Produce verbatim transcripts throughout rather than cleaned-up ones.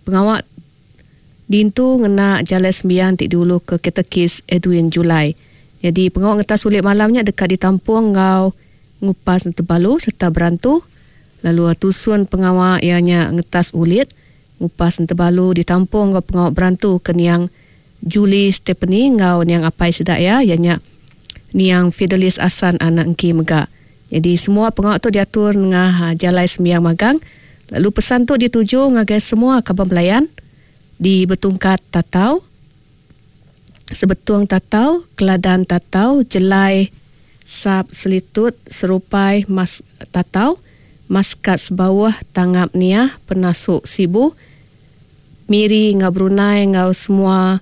Pengawa dintu ngena jalai sembiang ti diulu ke Katekis Edwin Julai. Jadi pengawa ngetas ulit malamnya dekat ditampung ngau ngupas tebalu serta berantu. Lalu tusun pengawa ianya ngetas ulit ngupas tebalu ditampung ngau pengawa berantu ke niang Julie Stephanie ngau niang apai sedaya ianya niang Fidelis Asan anak engki mega. Jadi semua pengawa tu diatur ngah jalai sembiang magang. Lalu pesan tu dituju ngagai semua kaban belayan di Betungkat Tatau, Sebetung Tatau, Keladan Tatau, Jelai, Sap Selitut, Serupai, Mas Tatau, Maskat Sebawah, Tangap Niah, Penasuk Sibu, Miri ngau Brunei ngau semua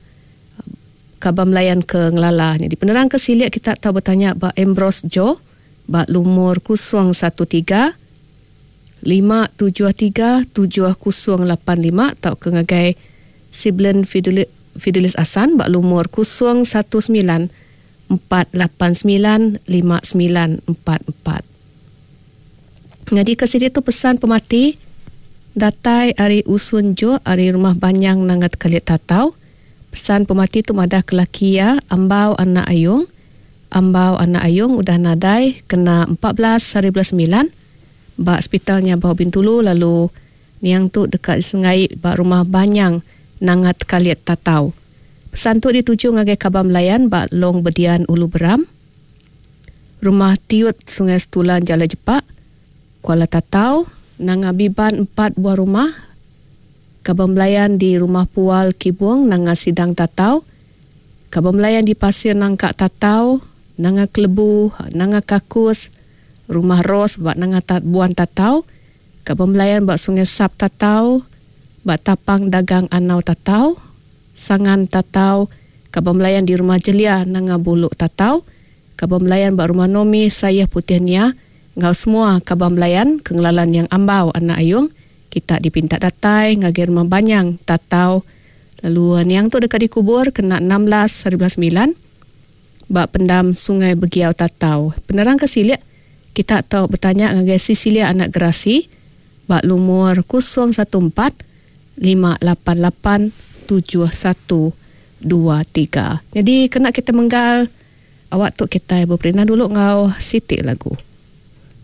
kaban belayan ke ngelala. Jadi penerang ke silik kita tahu bertanya ba Ambrose Joe ba lumur kosong satu tiga lima tujuh tiga tujuh kosong lapan lima atau ke ngagai Siblen Fidelis, Fidelis Asan ba lumur kosong satu sembilan empat lapan sembilan lima sembilan empat empat. Jadi ke sini tu pesan pemati datai ari Usun Jo ari rumah Banyang Nangat Kalit Tatau. Pesan pemati tu madah ke laki ya Ambau anak Ayung. Ambau anak Ayung udah nadai kena empat belas hari bulan sembilan ba hospitalnya Bau Bintulu, lalu niang tu dekat Sengai ba rumah Banyang Nangat Kalit Tatau. Pesan tu dituju ngagai kaban belayan ba Long Bedian Ulu Beram, Rumah Tiut Sungai Setulan Jalai Jepak, Kuala Tatau, Nanga Biban empat buah rumah, kaban belayan di Rumah Pual Kibung Nanga Sidang Tatau, kaban belayan di Pasir Nangka Tatau, Nanga Kelebu, Nanga Kakus, Rumah Ros ba Nanga Tat Buan Tatau, kaban belayan ba Sungai Sap Tatau, ba Tapang Dagang Anau Tatau, Sangan Tatau, kaban belayan di Rumah Jelia Nanga Buluk Tatau, kaban belayan ba Rumah Nomi Sayah Putih Nia, ngau semua kaban belayan kengelalan yang Ambau anak Ayung, kita dipinta datai ngagai Rumah Banyang Tatau. Lalu niang tu dekat dikubur kena enam belas hari bulan sembilan ba pendam Sungai Begiau Tatau. Penerang ke silik kita tahu bertanya ngagai Cecilia anak Gerasi ba lumur kosong satu empat lima lapan lapan tujuh satu dua tiga. Jadi kena kita menggal awak tu kita berperintah dulu ngau sitik lagu.